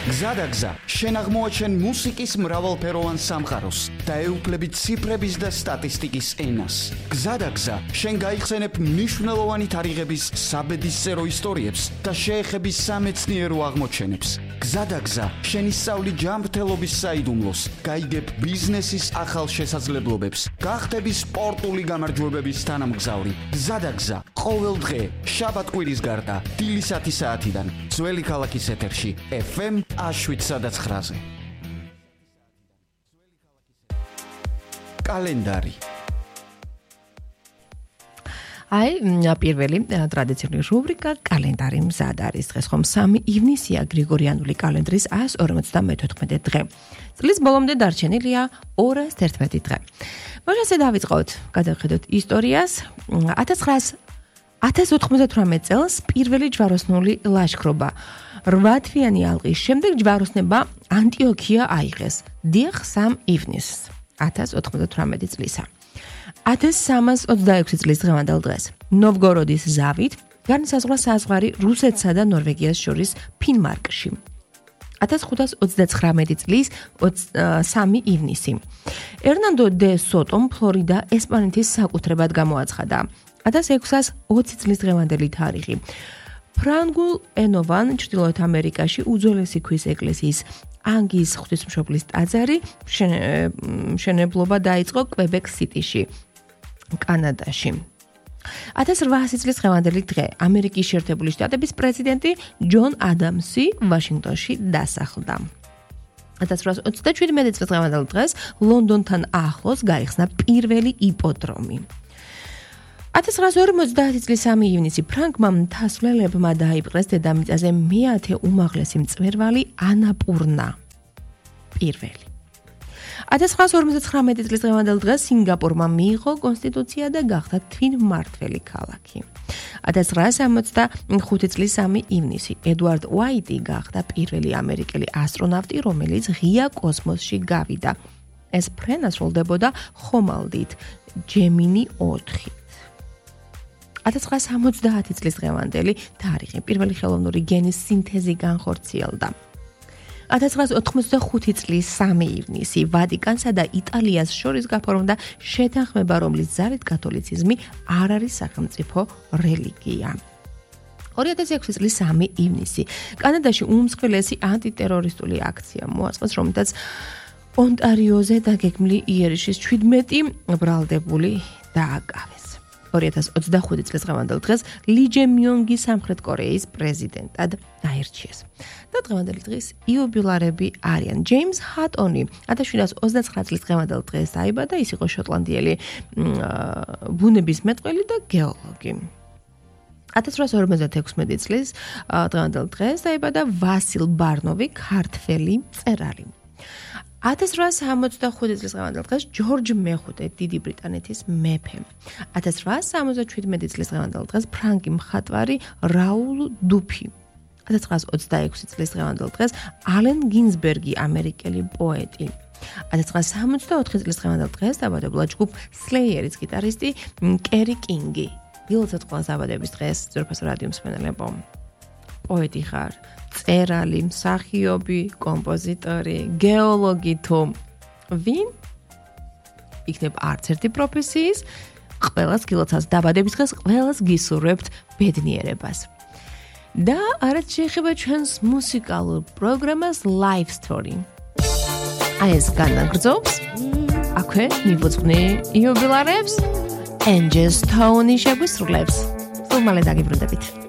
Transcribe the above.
გზადაგზა, შენ აღმოაჩენ მუსიკის მრავალფეროვან სამყაროს და ეუფლები ციფრების და სტატისტიკის ენას. გზადაგზა, შენ გაიხსენებ მნიშვნელოვანი თარიღების საბედისწერო ისტორიებს და შეეხები სამეცნიერო აღმოჩენებს. გზადაგზა, შენ ისწავლი ჯანმრთელობის საიდუმლოს, გაიგებ ბიზნესის ახალ შესაძლებლობებს, გახდები სპორტული გამარჯვებების თანამგზავრი. გზადაგზა, ყოველ დღე, შაბათ-კვირის გარდა, დილის 10 საათიდან, ძველი ქალაქის ეთერში, FM 7-9-ზე. კალენდარი. პირველი ტრადიციული რუბრიკა კალენდარი მზად არის. დღეს ხომ 3 ივნისია გრიგორიანული კალენდრის 154 დღე. წლის ბოლომდე დარჩენილია 211 დღე. მოშასე დავიწყოთ, გადავხედოთ ისტორიას. 1098 წელს პირველი ჯვაროსნული ლაშქრობა 8 თვიანი ალყის შემდეგ ჯვაროსნება ანტიოქია აიღეს. დიახ, 3 ივნისს 1098 წლისა. 1326 წლის დღევანდელ დღეს ნოვგოროდის ზავით განისაზღვრა საზღვარი რუსეთსა და ნორვეგიას შორის ფინმარკში. 1529 წლის 3 ივნისი ერნანდო დე სოტომ ფლორიდა ესპანეთის საკუთრებად გამოაცხადა. 1620 წლის დღევანდელი თარიღი ფრანგულ ენოვან ჩრდილოეთ ამერიკაში უძველესი ქვის ეკლესიის ანგის ღვთისმშობლის ტაძარი მშენებლობა დაიწყო კვებეკ სიტიში, კანადაში. 1800 წლის დღევანდელი დღე ამერიკის შეერთებული შტატების პრეზიდენტი ჯონ ადამსი ვაშინგტონში დასახლდა. 1827 წლის დღევანდელ დღეს ლონდონთან ახლოს გაიხსნა პირველი იპოდრომი. 1950 წლის 3 ივნისი ფრანგმა მთასვლებმა დაიპყრეს დედამიწაზე მეათე უმაღლესი მწვერვალი ანაპურნა. პირველი. 1959 წლის დღევანდელ დღეს სინგაპურმა მიიღო კონსტიტუცია და გახდა თვითმმართველი ქალაქი. 1965 წლის 3 ივნისი ედვარდ უაიტი გახდა პირველი ამერიკელი ასტრონავტი, რომელიც ღია კოსმოსში გავიდა. ეს ფრენა სრულდებოდა ხომალდით ჯემინი 4. 1970 წლის დღევანდელი თარიღი პირველი ხელოვნური გენის სინთეზი განხორციელდა. 1985 წლის 3 ივნისი ვატიკანსა და იტალიას შორის გაფორმდა შეთანხმება, რომლის ძალით კათოლიციზმი არ არის სახელმწიფო რელიგია. 2006 წლის 3 ივნისი კანადაში უმსხვილესი ანტიტერორისტული აქცია მოაწყეს, რომელთაც ონტარიოზე დაგეგმილი იერიშის 17 ბრალდებული დააკავეს. 2025 წლის დღევანდელ დღეს ალი ჯემიონგი სამხრეთ კორეის პრეზიდენტად აირჩიეს. და დღევანდელი დღის იუბილარები არიან ჯეიმს ჰატონი 1729 წლის დღევანდელ დღეს დაიბადა, ის იყო შოტლანდიელი ბუნებისმეტყველი და გეოლოგი. 1856 წლის დღევანდელ დღეს დაიბადა ვასილ ბარნოვი, ქართველი მწერალი. 1865 წლის დღევანდელ დღეს ჯორჯ მეხუთე, დიდი ბრიტანეთის მეფე. 1877 წლის დღევანდელ დღეს ფრანგი მხატვარი რაულ დუფი. 1926 წლის დღევანდელ დღეს ალენ გინზბერგი, ამერიკელი პოეტი. 1964 წლის დღევანდელ დღეს დაბადებულა ჯგუფ სლეიერის გიტარისტი კერი კინგი. დილოცეთ ყველა დაბადების დღეს ძვირფას რადიო მსმენელებო. პოეტი ხარ, წერალი, მსახიობი, კომპოზიტორი, გეოლოგი თუ ვინ? იქნებ არც ერთი პროფესიის, ყველას გილოცავს დაბადების დღეს, ყველას გისურვებთ ბედნიერებას. და არც შეეხება ჩვენს მუსიკალურ პროგრამას Live Story. ეს განაგრძობს აქვე მივუძღვნი იუბილარებს Angel Stone შეგვისრულებს. სულ მალე დაგიბრუნდებით.